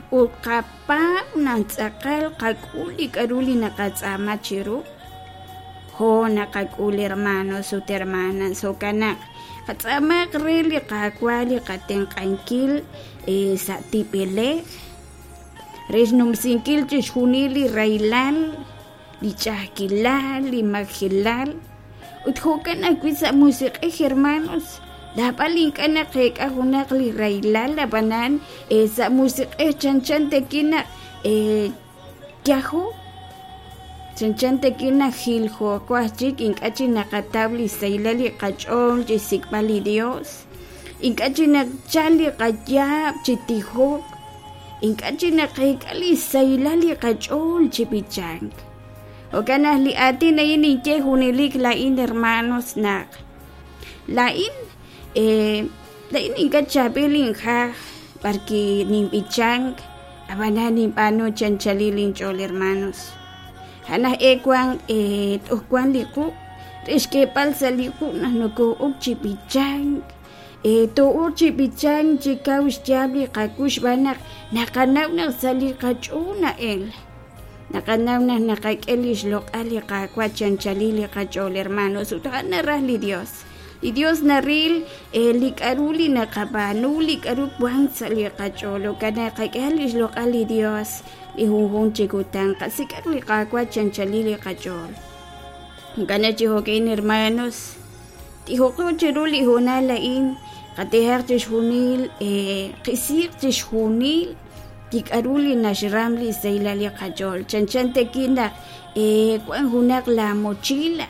Ut qapaab' naq tz'aqal qak'ul li k'a'ru li naqatz'aama chiru? Jo' naqak'ul hermanos ut hermanas, jo'kan naq qatz'aamaq re li Qaawa' li qatenq'ankil sa' tib'elej re xnumsinkil chixjunil li rahilal, li ch'a'ajkilal, li majelal, ut jo'kan ajwi' sa' musiq'ej hermanos, naab'al ink'a' naqeek'a junaq li rahilal, ab'anan sa' musiq'ej chanchan tawi' naq yajo, chanchan tawi' naq jiljooko aj chik, ink'a' chik naqataw li sahilal li qach'ool chi xsik'b'al li Dios, ink'a' chik nachal li qayaab' chi tijok, ink'a' chik naqeek'a li sahilal li qach'ool chi b'ichank. Jo'kan naq li aatin a'in ninye junelik laa'in hermanos naq laa'in laa'in ink'a' chaab'il injaj b'arwi' ninb'ichank ab'anan ninb'aanu chi anchalil inch'ool hermanos. A'an aj e wank toj wank li quq' re xk'eeb'al sa' li quq' naq noko'ok chi b'ichank too'ok chi b'ichank chi kaw xyaab' li qakux xb'aan naq naqanaw naq sa' li qach'ool na'el. Naqanaw naq naqak'e li xloq'al li Qaawa' chi anchalil li qach'ool hermanos ut a'an naraj li Dios. Li Dios naril li k'a'ru li naqab'aanu, li k'a'ru wank sa' li qach'ool. Jo'kan naq qak'e li xloq'al li Dios li junjunq chi kutan. Qasik'aq li Qaawa' chi anchalil li qach'ool. Jo'kan naq chi jo'ka'in hermanos, tijoqo chiru li hoonal a'in, qatijaq chixjunil, qisiiq chixjunil li k'a'ru li naxram li sahilal li qach'ool. Chanchan tawi' naq wan junaq la mochila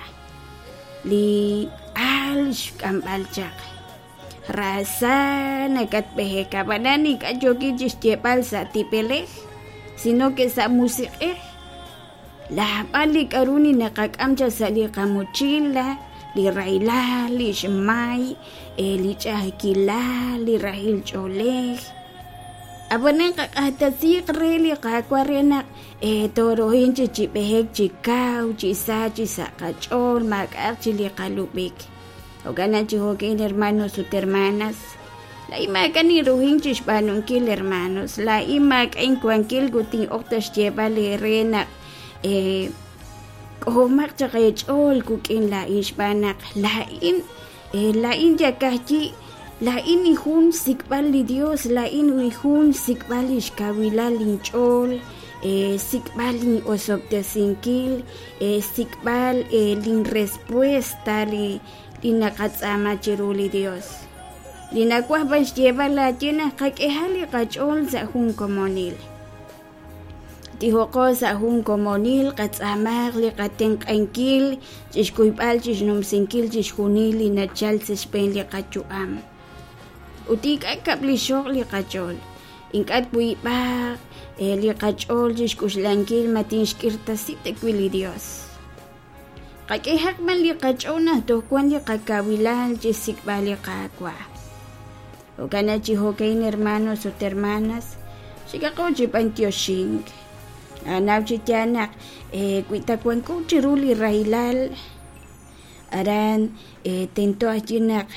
li aal xk'amb'al chaq. Raasa nakatb'ehek, ab'anan ink'a' yookin chixyeeb'al sa' tib'elej, sino ke sa' musiq'ej. Naab'al li k'a'ru li naqak'am chaq sa' li qamochila, li rahilal, li xmay, li ch'a'ajkilal, li rahil ch'oolej. Ab'anan qaq'axtesiiq re li Qaawa' re naq toorohin chi chi b'ehek chi kaw, chi sa, chi sa' qach'ool, maak'a'aq chi li qalub'ik. Jo'kan naq chi jo'kin hermanos ut hermanas, laa'in maak'a' ninruhin chi xb'aanunkil hermanos, laa'in maak'a' inwankil ut tin'ok ta xyeeb'al eere naq k'ojomaq chaq eech'ool wik'in laa'in xb'aan naq laa'in laa'in yakajyi laa'in jun xsik'b'al li Dios, laa'in jun xsik'b'al lix kawilal inch'ool, xsik'b'al lin'osob'tesinkil, xsik'b'al lin respuesta li li naqatz'aama chiru li Dios. Li nawaj b'an xyeeb'al laaye naq qak'eha li qach'ool sa' jun komonil. Tijoqo sa' jun komonil, qatz'aamaq li qatenq'ankil chixkuyb'al chixnumsinkil chixjunil li nachal sa' xb'een li qayu'am. Ut ink'a' kab'lixoq li qach'ool, ink'a' twiib'aq li qach'ool chixk'uxlankil ma tinxk'irtasi tawi' li Dios. Qak'ehaq b'an li qach'ool naq toj wank li qakawilal chi xsik'b'al li Qaawa'. Jo'kan naq chi jo'ka'in hermanos ut hermanas, xikaqo chi b'antioxink. Naqanaw chi yaal naq wi ta wanko chiru li rahilal, aran tento ajwi' naq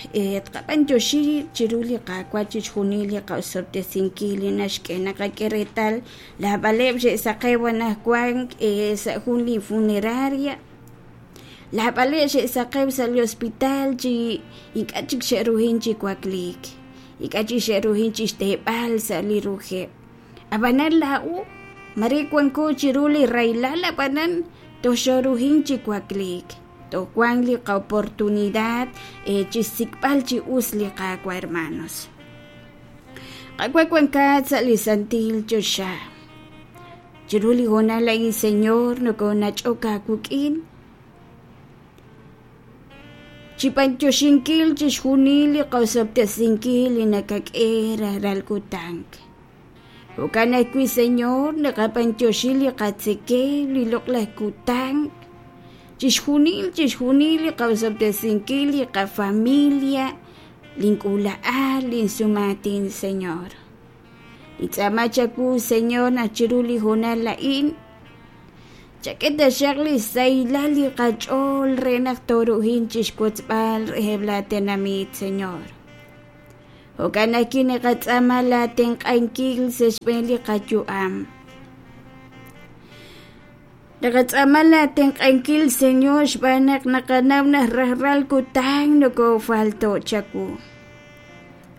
tqab'antioxi chiru li Qaawa' chixjunil li qa'osob'tesinkil li naxk'e. Naqak'e reetal naab'aleb' xe'saqew anaqwan sa' jun li funeraria, naab'aleb' xe'saqew sa' li hospital chi ink'a' chik xe'ruhin chi wakliik, ink'a' chik xe'ruhin chi xteeb'al sa' li ruheb'. Ab'anan laa'o mare wanko chiru li rahilal ab'anan toj xooruhin chi wakliik, toj wank li qa'oportunidad chi xsik'b'al chi us li Qaawa' hermanos. Qaawa' wankat sa' li santil choxa. Chiru li hoonal a'in, Señor, nokoonach'ok aawik'in chi b'antioxinkil chixjunil li qosob'tesinkil li nakak'e rajlal kutan. Jo'kan ajwi', Señor, naqab'antioxi li qatzekemq, li loq'laj kutan, chixjunil, chixjunil li qosob'tesinkil, li qafamilia, link'uula'al, linsumaatin, Señor. Nintz'aama chawu, Señor, naq chiru li hoonal a'in chak'e taxaq li xsahilal li qach'ool re naq tooruhin chixwotzb'al reheb' laa tenamit, Señor. Jo'kan ajwi' naqatz'aama laatenq'ankil sa' xb'een li qayu'am. Naqatz'aama laatenq'ankil, Señor, xb'aan naq naqanaw naq rajlal kutan nokoofalto' chawu.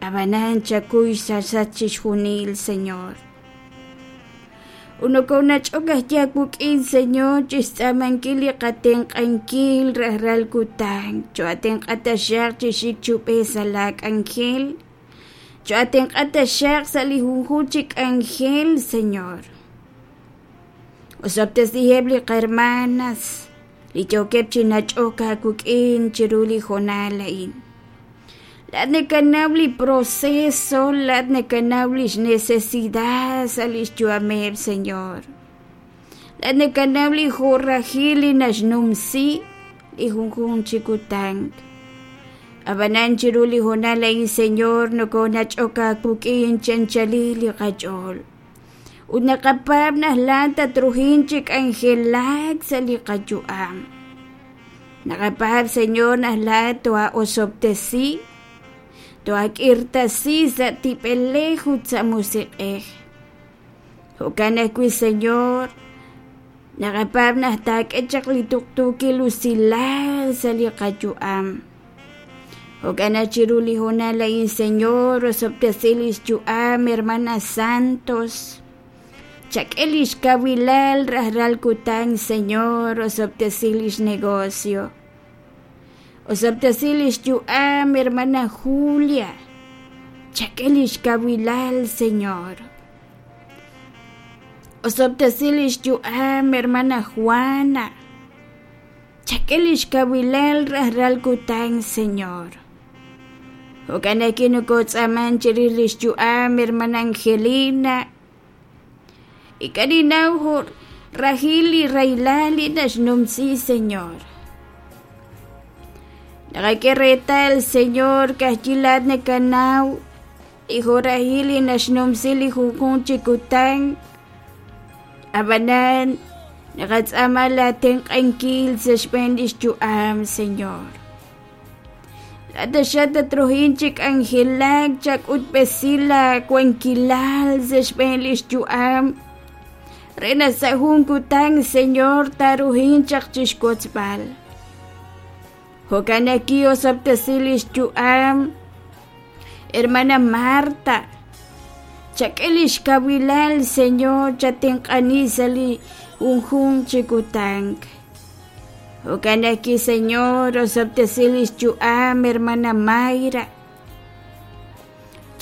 Ab'anan chakuy xsachsach chixjunil, Señor. Ut nokoonach'ok ajwi' aawik'in, Señor, chi xtz'aamankil li qatenq'ankil rajlal kutan. Choo'atenq'a taxaq chi xik chi ub'ej sa' laak'anjel. Choo'atenq'a taxaq sa' li junjunq chi k'anjel, Señor. Osob'tesiheb' li qahermanas li yookeb' chi nach'ok aawik'in chiru li hoonal a'in. Laa'at nakanaw li proceso, laa'at nakanaw lix necesidad sa' lix yu'ameb', Señor. Laa'at nakanaw li jo'rajil li naxnumsi li junjunq chi kutan. Ab'anan chiru li hoonal a'in, Señor, nokonach'ok aawik'in chi anchalil li qach'ool. Ut naqapaab' naq laa'at tatruhin chi k'anjelak sa' li qayu'am. Naqapaab', Señor, naq laa'at too'osob'tesi, too'ak'irtasi sa' tib'elej ut sa' musiq'ej. Jo'kan ajwi', Señor, naqapaab' naq taak'e chaq li tuqtuukil usilal sa' li qayu'am. Jo'kan naq chiru li hoonal a'in, Señor, osob'tesi lix yu'am hermana Santos. Chak'e lix kawilal rajlal kutan, Señor, osob'tesi lix negocio. Osob'tesi lix yu'am hermana Julia. Chak'e lix kawilal, Señor. Osob'tesi lix yu'am hermana Juana. Chak'e lix kawilal rajlal kutan, Señor. Jo'kan ajwi' nokotz'aaman chirix lix yu'am hermana Angelina. Ink'a' ninnaw jo' rajil li rahilal li naxnumsi, Señor. Naqak'e reetal, Señor, ka'ajwi' laa'at nakanaw li jo' rajil li naxnumsi li junjunq chi kutan. Ab'anan, naqatz'aama laatenq'ankil sa' xb'een lix yu'am, Señor. Laa'at taxaq tatruhin chi k'anjelak, chak'utb'esi laawankilal sa' xb'een lix yu'am, re naq sa' jun kutan, Señor, taaruhin chaq chixwotzb'al. Jo'kan naq ki'osob'tesi lix yu'am, Hermana Marta, chak'e lix kawilal, Señor, chatenq'ani sa' li junjunq chi kutan. Jo'kan ajwi', Señor, osob'tesi lix yu'am, hermana Mayra.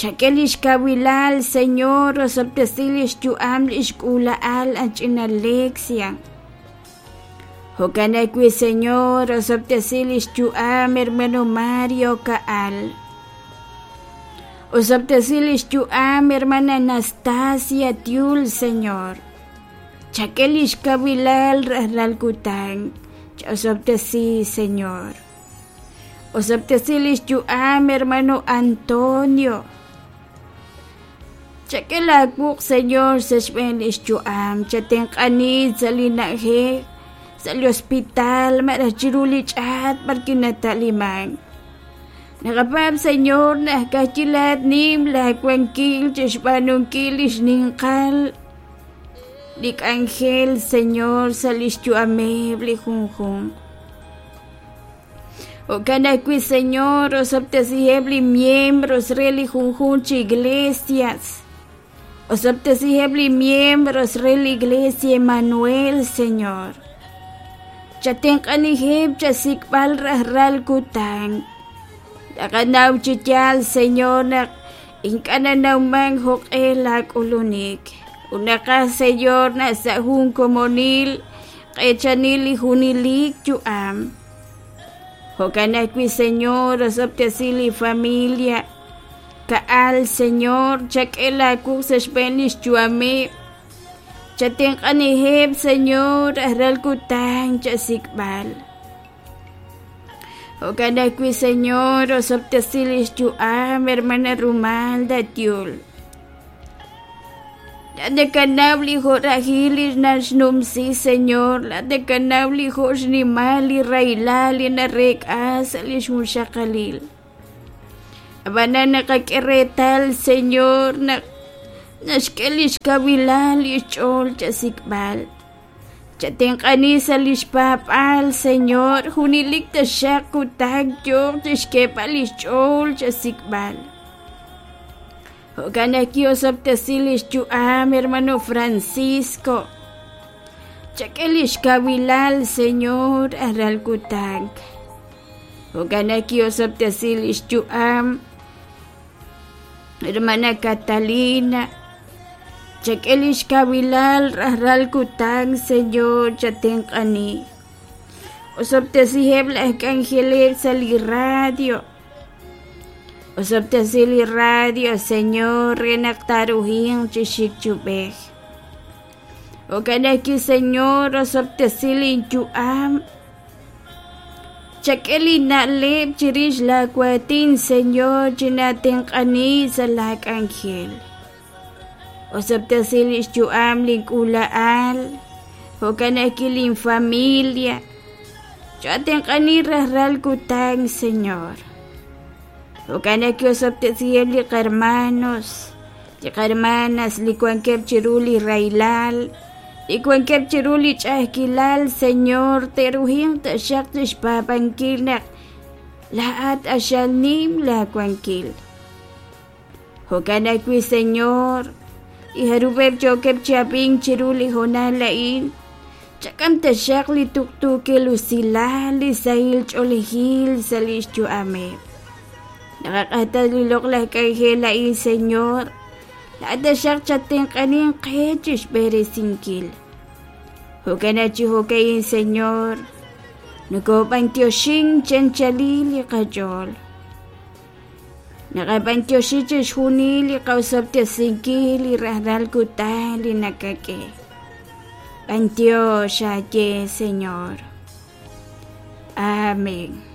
Chak'e lix kawilal, Señor, osob'tesi lix yu'am lix k'uula'al a ch'ina Alexia. Jo'kan ajwi', Señor, osob'tesi lix yu'am hermano Mario Ka'al. Osob'tesi lix yu'am hermana Anastasia Tiul, Señor. Chak'e lix kawilal rajlal kutan. Ch'osob'tesi, Señor. Osob'tesi lix yu'am hermano Antonio. Chak'e laawuq', Señor, sa' xb'een lix yu'am. Chatenq'ani sa' li na'ajej, sa' li hospital, malaj chiru li ch'aat b'ar kinata'liman. Naqapaab', Señor, naq ka'ajwi' laa'at nim laawankil chixb'aanunkil li xninqal li k'anjel, Señor, sa' lix yu'ameb' li junjunq. Jo'kan ajwi', Señor, osob'tesiheb' li miembros re li junjunq chi iglesias. Osob'tesiheb' li miembros re li Iglesia Emmanuel, Señor. Chatenq'aniheb' chasik'b'al rajlal kutan. Taqanaw chi yaal, Señor, naq ink'a' nanawman jo'q'e laak'ulunik. Ut naqaj, Señor, naq sa' jun komonil q'eechanil li junelik yu'am. Jo'kan ajwi', Señor, osob'tesi li familia. Ka'al, Señor, chak'e laawuq' sa' xb'een lix yu'ameb'. Chatenq'aniheb', Señor, rajlal kutan chasik'b'al. Jo'kan ajwi', Señor, osob'tesi lix yu'am hermana Rumalda Tiul. Laa'at nakanaw li jo'rajil li naxnumsi, Señor. Laa'at nakanaw li jo' xnimal li rahilal li nareek'a sa' lix junxaqalil. Ab'anan naqak'e reetal, Señor, naq naxk'e lix kawilal lix ch'ool chasik'b'al. Chatenq'ani sa' lix paab'aal, Señor, junelik taxaq kutan yooq chixk'eeb'al lix ch'ool chasik'b'al. Jo'kan naq ki'osob'tesi lix yu'am, hermano Francisco. Chak'e lix kawilal, Señor, ajlal kutan. Jo'kan naq ki'osob'tesi lix yu'am, hermana Catalina. Chak'e lix kawilal rajlal kutan, Señor, chatenq'ani. Osob'tesiheb' laj k'anjeleb' sa' li radio. Osob'tesi li radio, Señor, re naq taaruhinq chi xik chi ub'ej. Jo'kan ajwi', Señor, osob'tesi linyu'am. Chak'e li na'leb' chirix laa waatin, Señor, chinaatenq'ani sa' laa k'anjel. Osob'tesi lix yu'am lin k'uula'al, jo'kan ajwi' lin familia. Choo'atenq'ani rajlal kutan, Señor. Jo'kan ajwi' osob'tesiheb' li qahermanos, li qahermanas li wankeb' chiru li rahilal, li wankeb' chiru li ch'a'ajkilal, Señor, te'ruhinq taxaq chixpaab'ankil naq laa'at q'axal nim laa wankil. Jo'kan ajwi', Señor, li jarub'eb' yookeb' chi ab'ink chiru li hoonal a'in, chak'am taxaq li tuqtuukil usilal, li sahil ch'oolejil sa' lix yu'ameb'. Naqaq'axtesi li loq'laj k'anjel a'in, Señor, laa'at taxaq chattenq'aninq qe chixb'eresinkil. Jo'kan naq chi jo'ka'in, Señor, nokob'antioxink chi anchalil li qach'ool. Naqab'antioxi chixjunil li qaosob'tesinkil li rajlal kutan li nakak'e. B'antiox aaye, Señor. Amén.